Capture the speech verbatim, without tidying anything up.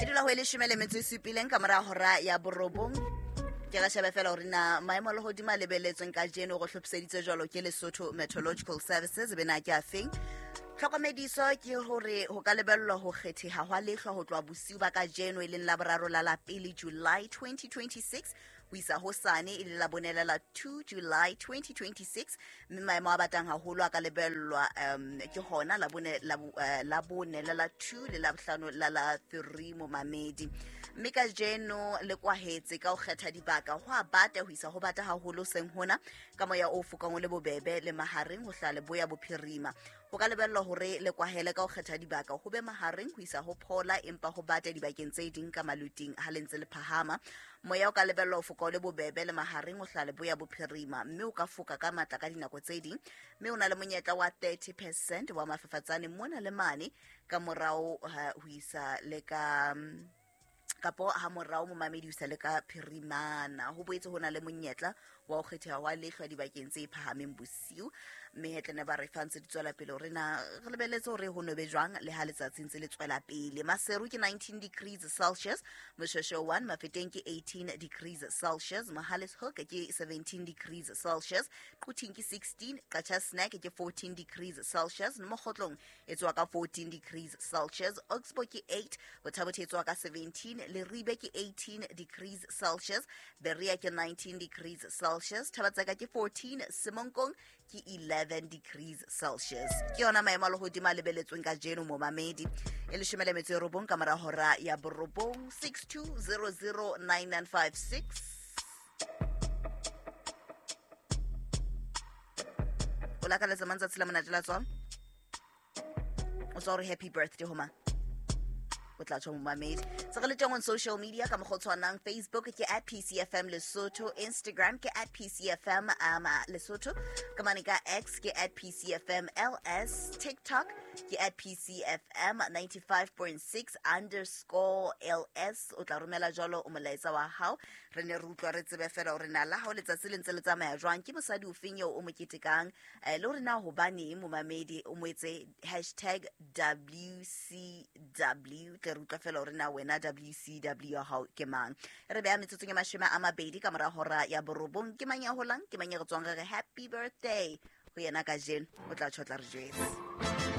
E dula ho e leshome le metso e supileng ka mora hora ya borobong. Ke re shebe fela hore na maemo a lehodimo a lebelletsweng kajeno go hlophiseditswe jwalo ke Lesotho Meteorological Services be na ke afeng. Tlhokomediso ke hore ho ka lebellwa ho kgetheha hwa lehlwa ho tloha bosiu ba kajeno e leng Laboraro la la pele July twenty twenty-six ho isa hosane e le Labone la two July twenty twenty-six, mme maemo a batang haholo a ka lebellwa um ke hona Labone Labone la la two le Labohlano la la three momamedi. Mme kajeno le kwahetse ka ho kgetha dibaka ho a bata ho isa ho bata haholo seng hona ka moya o fokang o le bobebe le mahareng ho hlaha leboya bophirima. Ho ka lebellwa hore le kwahele ka ho kgetha dibaka ho be mahareng ho isa ho phola, empa ho bata dibakeng tse ding ka maluting ha le ntse le phahama. Moya o ka lebellwa ho foka o le bobebe le mahareng ho hlaha leboya bophirima, mme o ka foka ka matla ka dinako tse ding, mme o na le monyetla wa thirty percent wa mafafatsane mona le mane ka morao ho isa le ka kapo ha morao momamedi ho isa le ka phirimana. Ho boetse ho na le monyetla wa ho kgetheha wa lehlwa dibakeng tse phahameng bosiu, mme hetlene ba re fa ntse di tswela pele hore na re lebelletse hore ho nobe jwang le ha letsatsi ntse le tswela pele. Maseru ke nineteen degrees Celsius, Moshoeshoe one, Mafeteng ke eighteen degrees Celsius, Mohale's Hoek ke seventeen degrees Celsius, Quthing ke sixteen, Qacha's Nek ke fourteen degrees Celsius, Mokgotlong e tswa ka fourteen degrees Celsius, Oxbow ke eight, Botha-Bothe e tswa ka seventeen, Leribe ke eighteen degrees Celsius, Berea ke nineteen degrees Celsius, Thabatseka ke fourteen, Semonkong ke eleven degrees Celsius. Ke yona maemo a lehodimo a lebeletsweng kajeno momamedi. E leshome le metso e robong ka mora hora ya borobong. Six two zero zero nine nine five six. O lakaletsa mang tsatsi la monate la tswalo? O tswa hore happy birthday ho mang? O tla tjho momamedi. Se re le teng on social media ka mokgwa o tshwanang. Facebook ke at P C F M Lesotho, Instagram ke at P C F M um, Lesotho, ka mane ka X ke at P C F M L S, TikTok ke at P C F M ninety-five point six underscore L S. O tla romela jwalo o molaetsa wa hao, re ne re utlwa re tsebe fela hore na la hao letsatsi le ntse le tsamaya jwang, ke mosadi ofeng eo o mo ketekang, eh, le hore na hobaneng momamedi o mo etse hashtag W C W. Tle re utlwa fela hore na wena W C W ya hao ke mang. Re beha metsotsong e mashome a mabedi ka mora hora ya borobong. Ke mang ya holang, ke mang ya re tswang re re happy birthday ho yena kajeno? O tla tjho, tla re jwetsa.